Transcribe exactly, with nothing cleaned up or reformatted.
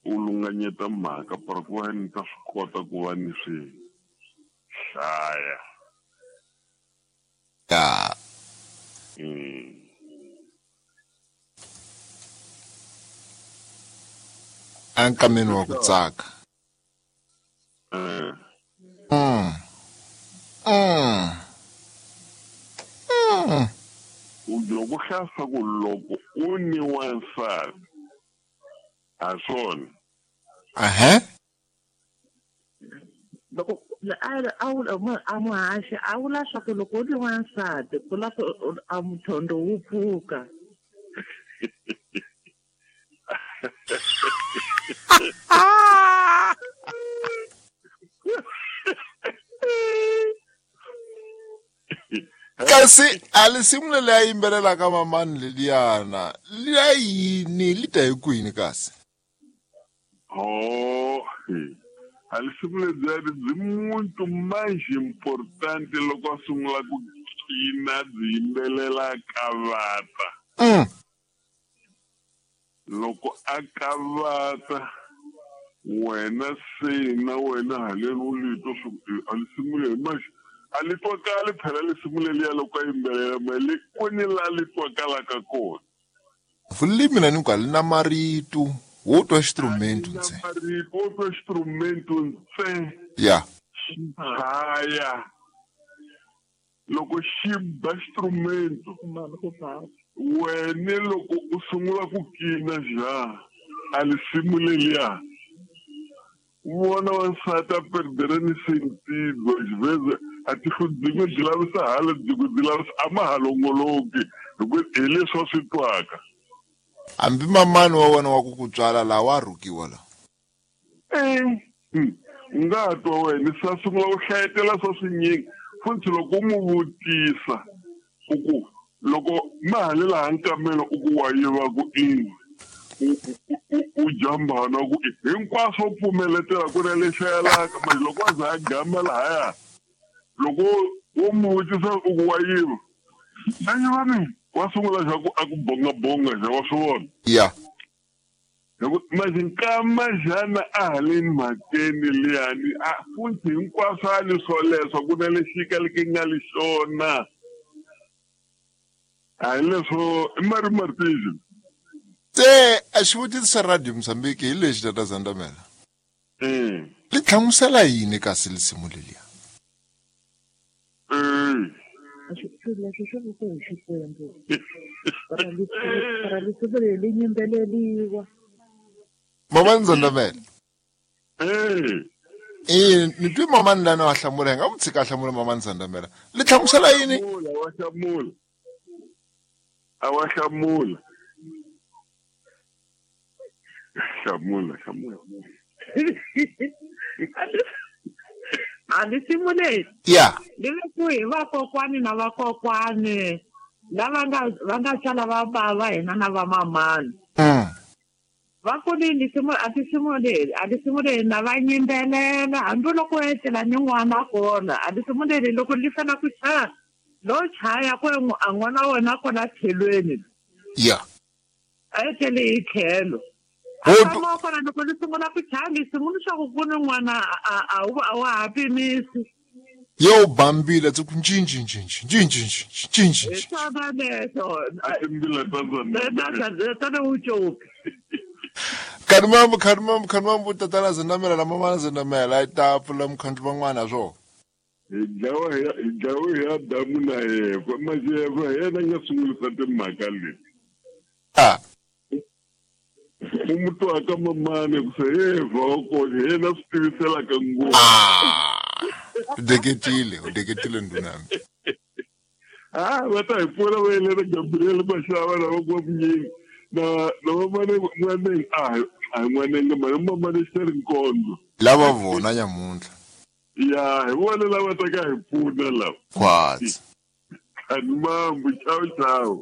U lunganyeta mhaka para ku va ni ta swi kota ku va ni swi hlaya. Ya. Mm. Ankameni wa ku tsaka. Eh. Mm. Mm. Mm. U loko hlasa ku loko u ni wansati a swona. Ahã. Loko a a muhaxi a vula swa ku loko u ni wansati ku la ku a muthondo wu pfuka. Kasi a lisimu leri a yimbelelaka mamani leliyana liya yini li ta hi kwini kasi? Oh, a lisimu lediyani byi muntu mais importante loko a sungula ku cina byi yimbelela kavata. Mm. Loko a kavata wena se na wena haleni u litwa swa ku a lisimu leri manje a li twakali phela lisimu leliya loko a yimbelela ma le kwini la li twakalaka kona. Vulimi mina ni ku a li na marito wo twa xitrumento Na ntsena. marito wo twa xitrumento ntsena. Ya. Xi chaya. Loko xi ba xitrumento wena loko u sungula ku kina ja a lisimu leliya vona wansati a perdere ni sentido xiveze a tihlo byin'we byi lavisa hala byin'we byi lavisa a ma ha longoloki hi ku hi leswi a swi twaka. Hambi mamani wa wena wa ku ku tswala laha wa rhukiwa laha. Eh, hmm, u nga ha twa wena se a sungula ku hlayetela swa swinyingi futhi loko u n'wi vutisa u ku loko ma ha le laha nkamelo u ku wa yiva ku ini u jambana ku hinkwaswo u pfumeletela ku na lexi yalaka manje loko a za a gama lahaya loko wo n'wi vutisa u ku wa yiva a yiva mina wa sungula xa ku a ku bongabonga xa wa swi vona. Ya. Hi ku manje nkama xana a haleni mhakeni liyani a futhi hinkwaswo a ni swoleswo ku na lexi kaleke nga li xona. A hi leswo i Mari Martins. Se a xivutiso xa Radio Mozambique hi lexi tata Zandamela. Mm. Li hlamusela yini kasi lisimu leliya? Mm. Swilo leswi swi veke hi Xikwembu. Para lisimu leri li yimbeleliwa. Mamani Zandamela. Eh. Eh, ni twi mamani lana wa hlamula, hi nga n'wi tshika a hlamula mamani Zandamela. Li hlamusela yini? Wa hlamula. A wa hlamula. Hlamula, hlamula. A lisimu leri. Ya. Li vekiwe hi vakokwani na vakokwani lava nga va nga sala va bava hina na vamamani. Mm. Va ku ni lisimu a lisimu leri a lisimu leri na va yimbelela hambi loko u etlela ni n'wana kona a lisimu leri loko li fana ku chaya lo chaya ku a n'wana wa wena kona tlhelweni. Ya. A etlele hi tlhelo. Ho A tu- tshama kona loko li sungula ku chaya lisimu leswaku ku ni n'wana a a wu a wa ha pimisi. Yo bambile tsi ku ncinci ncinci ncinci ncinci ncinci. Hi swona leswo. A timbila ta Zandamela. Tana wu coki. Khanimambu khanimambu khanimambu tatana Zandamela na mamana Zandamela a ta pfula mukhandlu van'wana swo. Hi dlawa hi hi dlawa hi Adamu na Eva manje Eva hi yena a nga sungulisa timhaka leti. Ah. U mu twaka mamani ku se Eva wa kona hi yena swi tiviselaka ngopfu. Ah. U deketile, u deketile ndhuna. Ah, va ta hi pfuna va yelena Gabriel Mashava na va N'wamunyingi na na vamane N'waneng a hi a hi N'wanenge mani mamane Xiteri Nkondzo. Lava vona nyamuntlha. Ya, hi vona lava ta ka hi pfuna lava. Khwatsi. Khanimambu, chao chao.